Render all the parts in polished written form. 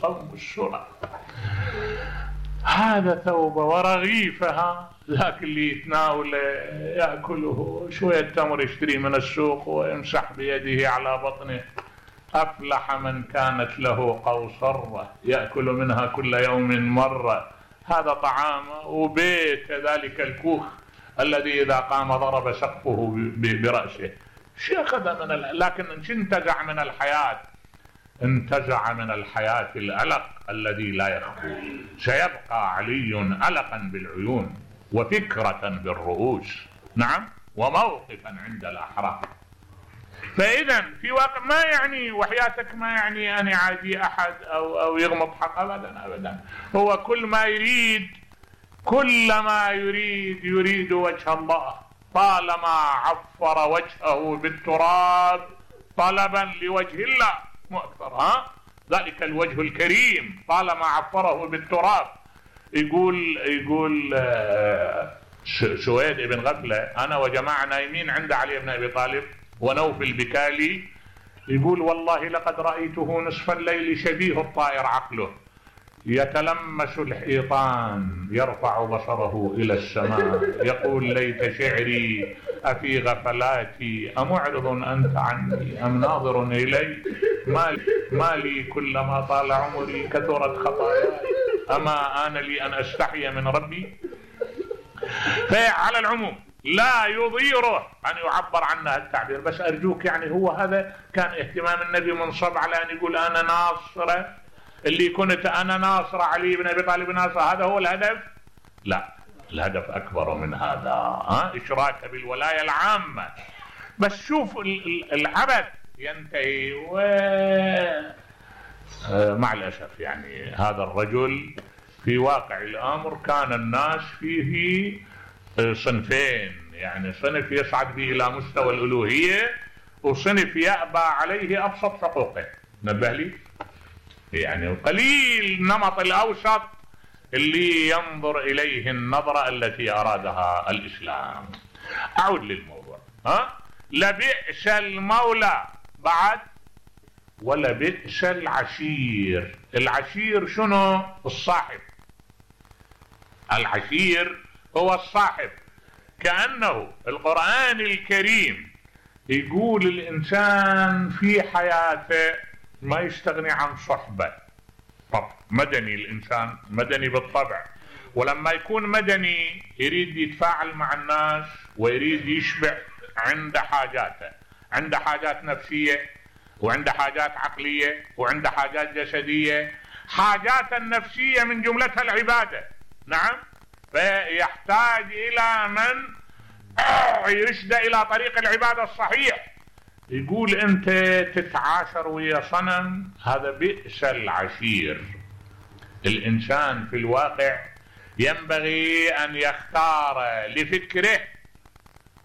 القوم الشرى. هذا ثوبه ورغيفها، ذاك اللي يتناوله يأكله شوية تمر يشتري من السوق ويمسح بيده على بطنه. أفلح من كانت له قوصرة يأكل منها كل يوم مرة. هذا طعامه. وبيت ذلك الكوخ الذي إذا قام ضرب سقفه برأسه. شو أخذ من لكن انتزع من الحياة، انتزع من الحياة الألق الذي لا يخفو. سيبقى علي ألقا بالعيون وفكرة بالرؤوس، نعم، وموقفا عند الأحرار. فإذا في واقع ما يعني وحياتك ما يعني أن يعادي أحد أو يغمض حق، أبدا أبدا. هو كل ما يريد يريد وجه الله، طالما عفر وجهه بالتراب طلبا لوجه الله مو أكثر. ذلك الوجه الكريم طالما عفره بالتراب. يقول سويد بن غفلة: أنا وجماعة نايمين عند علي بن أبي طالب ونوفل بكالي، يقول: والله لقد رأيته نصف الليل شبيه الطائر عقله يتلمس الحيطان يرفع بصره إلى السماء يقول: ليت شعري أفي غفلاتي أمعرض أنت عني أم ناظر إلي؟ ما لي كلما طال عمري كثرت خطاياي أما آن لي أن أستحي من ربي. فعلى العموم لا يضيره أن يعبر عنها التعبير، بس أرجوك يعني هو هذا كان اهتمام النبي منصب على أن يقول أنا ناصر، اللي كنت أنا ناصر علي بن أبي طالب ناصر، هذا هو الهدف؟ لا، الهدف أكبر من هذا. إشراك بالولاية العامة. بس شوف العبث ينتهي مع الأسف يعني هذا الرجل في واقع الأمر كان الناس فيه صنفين، يعني صنف يصعد به إلى مستوى الألوهية وصنف يأبى عليه أبسط حقوقه. نبه لي يعني قليل نمط الأوسط اللي ينظر إليه النظرة التي أرادها الإسلام. أعود للموضوع. لبئس المولى بعد ولبئس العشير. العشير شنو؟ الصاحب. العشير هو الصاحب. كأنه القرآن الكريم يقول الإنسان في حياته ما يستغني عن صحبة. طب مدني، الإنسان مدني بالطبع، ولما يكون مدني يريد يتفاعل مع الناس ويريد يشبع عند حاجاته، عند حاجات نفسية وعند حاجات عقلية وعند حاجات جسدية. حاجات النفسية من جملتها العبادة، نعم، فيحتاج إلى من يرشد إلى طريق العبادة الصحيح. يقول أنت تتعاشر ويا صنم، هذا بئس العشير. الإنسان في الواقع ينبغي أن يختار لفكره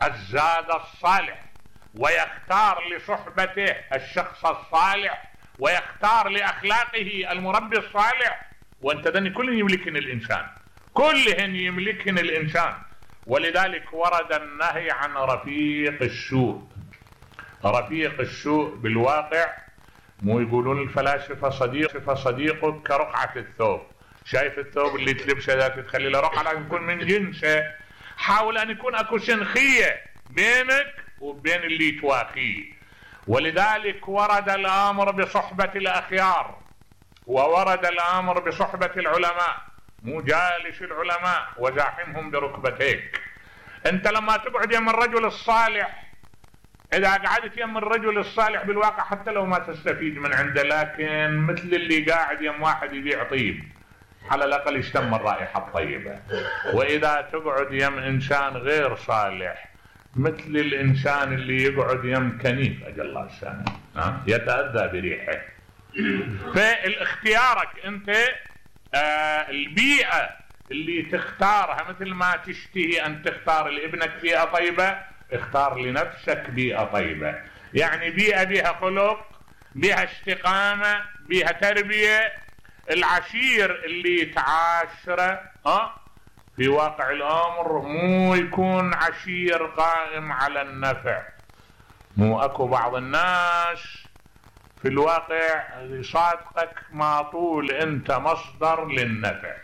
الزاد الصالح، ويختار لصحبته الشخص الصالح، ويختار لأخلاقه المربي الصالح. وأنت ذني كلهن يملكن الإنسان، كلهن يملكن الإنسان. ولذلك ورد النهي عن رفيق السوء. رفيق السوء بالواقع مو يقولون الفلاسفة صديقك كرقعة الثوب. شايف الثوب اللي تلبسه ذا تخلي له رقعة، لازم يكون من جنسه. حاول أن يكون أكو سنخية بينك وبين اللي تواخيه. ولذلك ورد الأمر بصحبة الأخيار، وورد الأمر بصحبة العلماء. مو جالس العلماء وزاحمهم بركبتيك. أنت لما تقعد يم الرجل الصالح، إذا قعدت يم الرجل الصالح بالواقع حتى لو ما تستفيد من عنده، لكن مثل اللي قاعد يم واحد يبيع طيب على الأقل يشتم الرائحة الطيبة. وإذا تقعد يم إنسان غير صالح مثل الإنسان اللي يقعد يم كنيف أجل الله السنة يتأذى بريحه. فالاختيارك أنت البيئة اللي تختارها، مثل ما تشتهي أن تختار لابنك بيئة طيبة، اختار لنفسك بيئة طيبة. يعني بيئة بها خلق، بها استقامة، بها تربية. العشير اللي تعاشره في واقع الأمر مو يكون عشير قائم على النفع. مو أكو بعض الناس في الواقع يصادقك ما طول انت مصدر للنفع.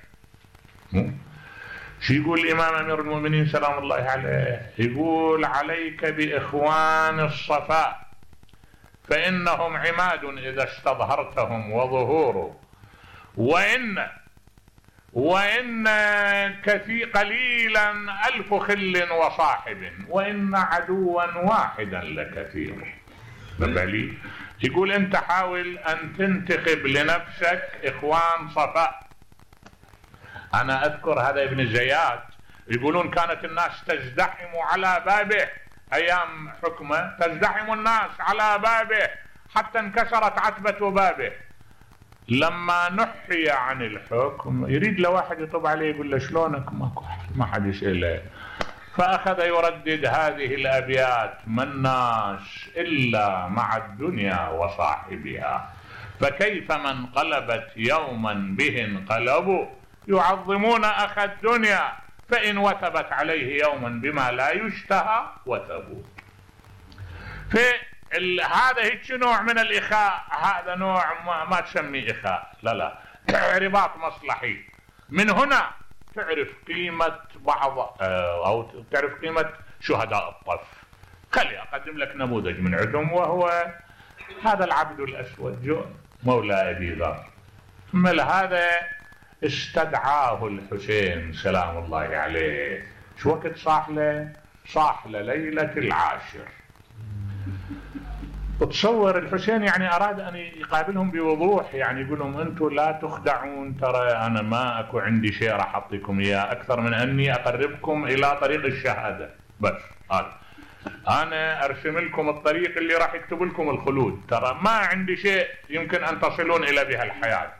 شو يقول الامام امير المؤمنين سلام الله عليه؟ يقول عليك باخوان الصفاء فانهم عماد اذا استظهرتهم وظهوره، وإن كثير قليلا ألف خل وصاحب وإن عدوا واحدا لكثير. بالي يقول أنت حاول أن تنتخب لنفسك إخوان صفاء. أنا أذكر هذا ابن زياد يقولون كانت الناس تزدحم على بابه أيام حكمه، تزدحم الناس على بابه حتى انكسرت عتبة بابه. لما نحي عن الحكم يريد له واحد يطب عليه يقول له شلونك، ما حد يسأله، فأخذ يردد هذه الأبيات: ما الناس إلا مع الدنيا وصاحبها، فكيف من قلبت يوما به انقلبوا، يعظمون أخ الدنيا فإن وثبت عليه يوما بما لا يشتهى وثبوا. هذا هيك نوع من الإخاء، هذا نوع ما تسميه إخاء، لا رباط مصلحي. من هنا تعرف قيمة بعض أو تعرف قيمة شهداء الطف. خلي أقدم لك نموذج من عندهم، وهو هذا العبد الأسود جون مولى أبي ذر. من هذا استدعاه الحسين سلام الله عليه. شو وقت صاح له ليلة العاشر. تصور الحسين يعني أراد أن يقابلهم بوضوح، يعني يقول لهم أنتم لا تخدعون، ترى أنا ما أكو عندي شيء راح أعطيكم إياه أكثر من أني أقربكم إلى طريق الشهادة، بس هذا أنا أرسم لكم الطريق اللي راح يكتب لكم الخلود، ترى ما عندي شيء يمكن أن تصلون إلى بها الحياة.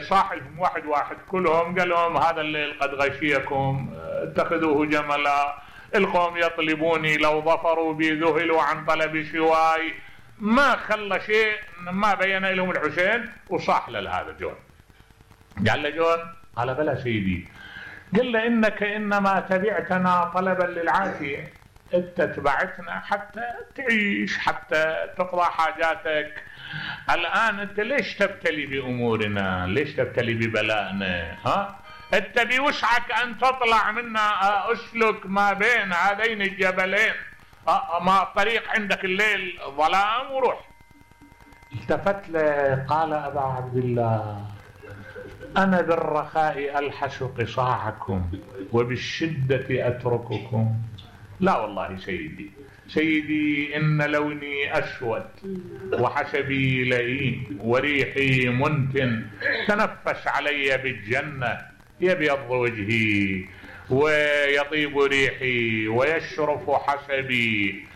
صاحبهم واحد كلهم قال لهم هذا الليل قد غشيكم اتخذوه جملا، القوم يطلبوني لو ظفروا بي ذهلوا عن طلب شواي. ما خلى شيء ما بين لهم الحسين، وصاح لهذا جون. قال له جون، قال بلى سيدي، قال له إنك إنما تبعتنا طلبا للعافية، انت تبعتنا حتى تعيش، حتى تقضى حاجاتك. الآن انت ليش تبتلي بأمورنا؟ ليش تبتلي ببلائنا؟ انت بوسعك ان تطلع منا، اسلك ما بين هذين الجبلين، ما الطريق عندك الليل ظلام وروح. التفت له قال أبا عبد الله، أنا بالرخاء ألحس قصاعكم وبالشدة أترككم. لا والله سيدي إن لوني أسود وحسبي لئيم وريحي منتن، تنفس علي بالجنة يبيض وجهي ويطيب ريحي ويشرف حسبي.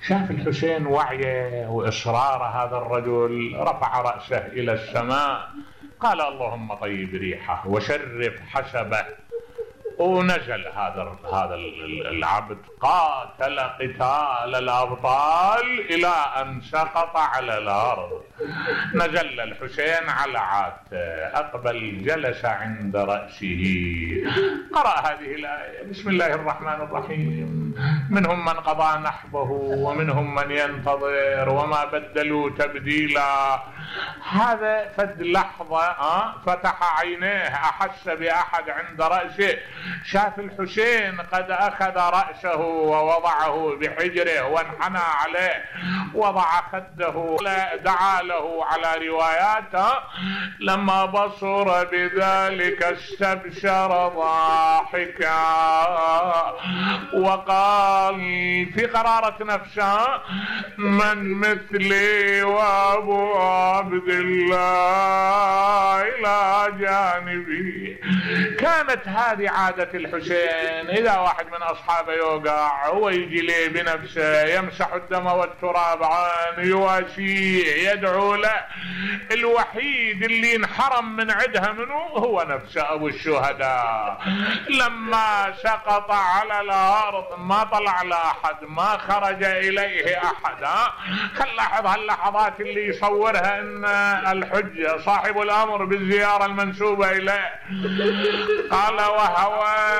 شاف الحسين وعيه وإصرار هذا الرجل، رفع رأسه إلى السماء قال اللهم طيب ريحه وشرف حسبه. ونزل هذا العبد، قاتل قتال الأبطال إلى أن سقط على الأرض. نزل الحسين على عاته، أقبل جلس عند رأسه، قرأ هذه الآية: بسم الله الرحمن الرحيم، منهم من قضى نحبه ومنهم من ينتظر وما بدلوا تبديلا. هذا فد لحظة فتح عينيه، أحس بأحد عند رأسه، شاف الحسين قد أخذ رأسه ووضعه بحجره وانحنى عليه، وضع خده، دعا له على رواياته. لما بصر بذلك استبشر ضاحكا وقال في قرارة نفسه: من مثلي وأبو عبد الله إلى جانبي. كانت هذه عادة الحسين، إذا واحد من أصحابه يوقع هو يجي ليه بنفسه، يمسح الدم والتراب عنه، يواسيه، يدعو له. الوحيد اللي انحرم من عدها منه هو نفسه أبو الشهداء. لما سقط على الأرض ما طلع لأحد، ما خرج إليه أحد. لاحظ هاللحظات اللي يصورها إن الحجة صاحب الأمر بالزيارة المنسوبة إليه. قال: وهوى